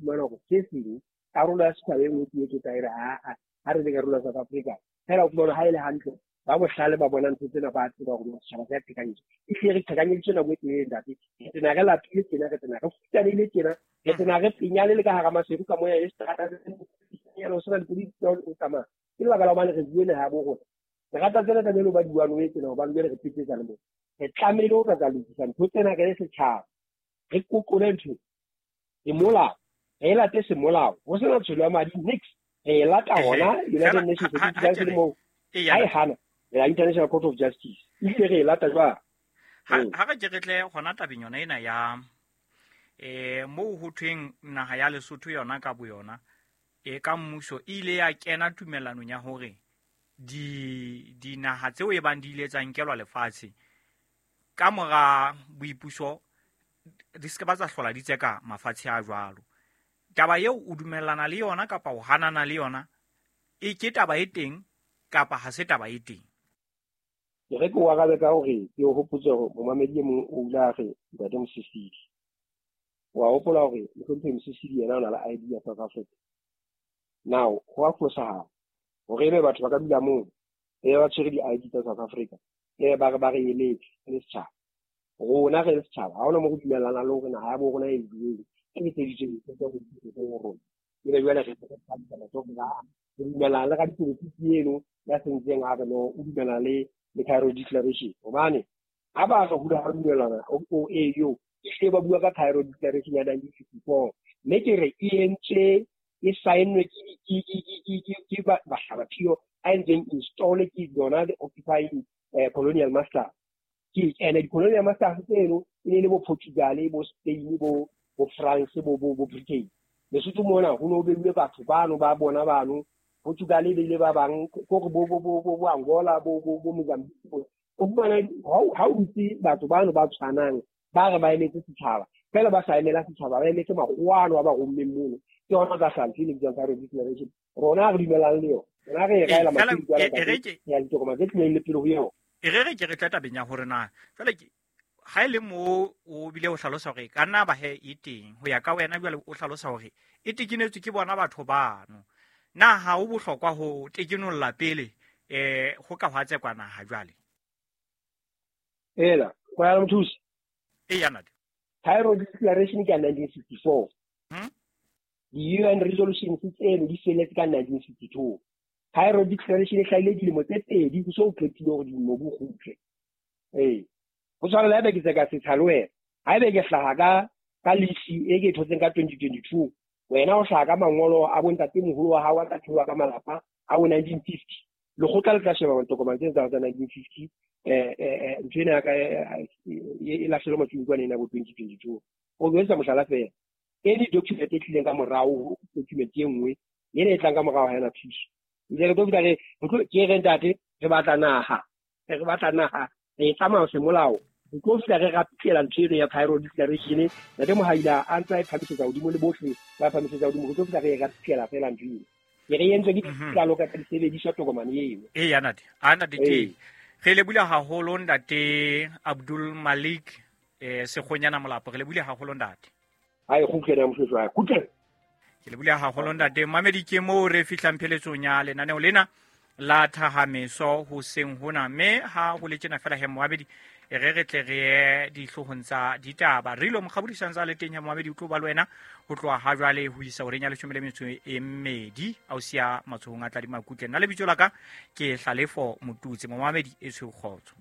fumana hore se seng karolo ya setjhaba e nngwe ke e tla e re aa ha re le karolo ya South Africa. Fela o fumana ha e le hantle ba bohlale ba bona ntho tsena, ba tseba hore setjhaba se a qhekanyetswa. Ehlile re qhekanyeditswe nako e telele, ntate. Re tena re lapile tjena, re tena re futsanehile tjena, re tena re penyane le ka hara maseru ka moya e seterata ho sena dikoloi o tsamaya. Ke lebaka la hobane re bue naha ya bo rona. Re rata tsena tlamehile ho ba di-one way tsena, hobane jwale re petsetsa le moo. Re tlamehile ho tla lokisa ntho tsena re le setjhaba. Re qoqole ntho semolao, re e late semolao. Ho sena tsholo ya madi nix. Re e lata hona United Nations Security Council moo. Ha e hana, re ya International Court of Justice. Ebile re e lata jwang? Ha re ke re tle hona tabeng yona ena ya moo ho thweng naha ya Lesotho yona ka boyona e ka mmuso e ile ya kena tumellanong ya hore di dinaha tseo e bang di ile tsa nkelwa lefatshe ka mora boipuso di se ke ba tsa hlola di tseka mafatshe a jwalo. Taba eo o dumellana le yona kapa o hanana le yona, e ke taba e teng kapa ha se taba e teng? Ke re ke o arabe ka hore ke o hopotse hore momamedi e mong o ile a re ntate Mosisili. Wa hopola hore mohlomphehi Mosisili yena o na le ID ya South Africa. Now, ho a fosahala hore ebe batho ba ka dula moo, ebe ba tshwere di-ID tsa South Africa, ebe ba re ba re eletse re le setjhaba. Rona re le setjhaba, ha hona moo re dumellanang le hore naha ya bo rona e bueng, e etseditswe dintho tse re di ho rona. Ebe jwale re re dumellana le radipolotiki eno ya sentseng a re no, o dumellana le Cairo Declaration. Hobane ha ba re hula ha dumellana o e yo, ehlile ba bua ka Cairo Declaration ya 1954. Mme ke re e entswe, e saennwe ke bahlabaphiyo a entseng install ke yona the occupying colonial master. Ke ene di-colonial masters tseno e ne le bo Portugal, bo Spain, bo France, bo Britain. Lesotho mona ho no beilwe batho bano ba bona bano, Portugal e beile ba bang, kore bo Angola, bo Mozambique. O fumana ha o dutse batho bano ba tshwanang, ba re ba emetse setjhaba, fela ba sa emela setjhaba, ba emetse makgowa ano a ba rommeng mono. Ke hona tla hlaha ntho e le bitswang Cairo Declaration. Rona re dumelang le yona. Rona re e raela mathudi kwana ntate, ya ditokomane tse tlileng le pele ho yona. E re re ke re tle tabeng ya hore na jwale ke ha e le moo o bile o hlalosa hore ka nna ba he e teng ho ya ka wena, jwale o hlalosa hore e tekenetswe ke bona batho bano. Na ha o bohlokwa ho tekenolla pele ho ka hwa tsekwa naha jwale? Ela, go ya mothusi. E ya ntate. Cairo Declaration ke ya 1964. Di-UN resolutions tseno di felletse ka 1962. Cairo Declaration e hlahile dilemo tse pedi ho so qetile hore mobu o kgutle. Ee. Ho tshwana le haebe ke tseka setsha le wena. Haebe ke hlaha ka lisi e ke e thotseng ka 2022, wena o hlaha ka mangolo a bontatemoholo wa hao a tla theoha ka malapa a bo 1950. Lekgotla le tla sheba ditokomane tsena tsa 1950, ntho ena ya ka e lahlelwe matsung kwana ena bo 2022. O etsa mohlala fela. Any document e tlileng ka morao, document e nngwe, ena e tlang ka morao ha ena thuso. Ebile re tlo fihla re, re tlo, ke re ntate, re batla naha. Re batla naha, re e tsamaya semolao. Re tlo fihla re rapitlela ntho eno ya Cairo Declaration. Ntate Mohaila a ntse a e phamisetsa hodimo le bohle ba phamisetsa hodimo. Re tlo fihla re e rapitlela fela ntho eno. Ke re entswe ke ditlalo ka disebediswa tokomane eno. Ee, ya ntate. A ntate ke. Re lebohile haholo ntate Abdul Malik Sekgonyana Molapo. Re lebohile haholo ntate. Ai kgutle na moshweshwe, ai kgutle. Ke lebohile haholo ntate. Mamedi ke moo re fihlang pheletsong ya lenaneo lena la thahameso hoseng hona, mme ha ho le tjena fela he moabedi e re re tle re ye dihloohong tsa ditaba. Re ilo mokgabodisang tsa le teng he moabedi o tlo ba le wena ho tloha ha jwale ho isa horeng ya 12 a o siya matsohong a Tladi Makutle. Nna lebitso la ka ke Hlalefo Motutse. Momamedi e tshweu kgotso.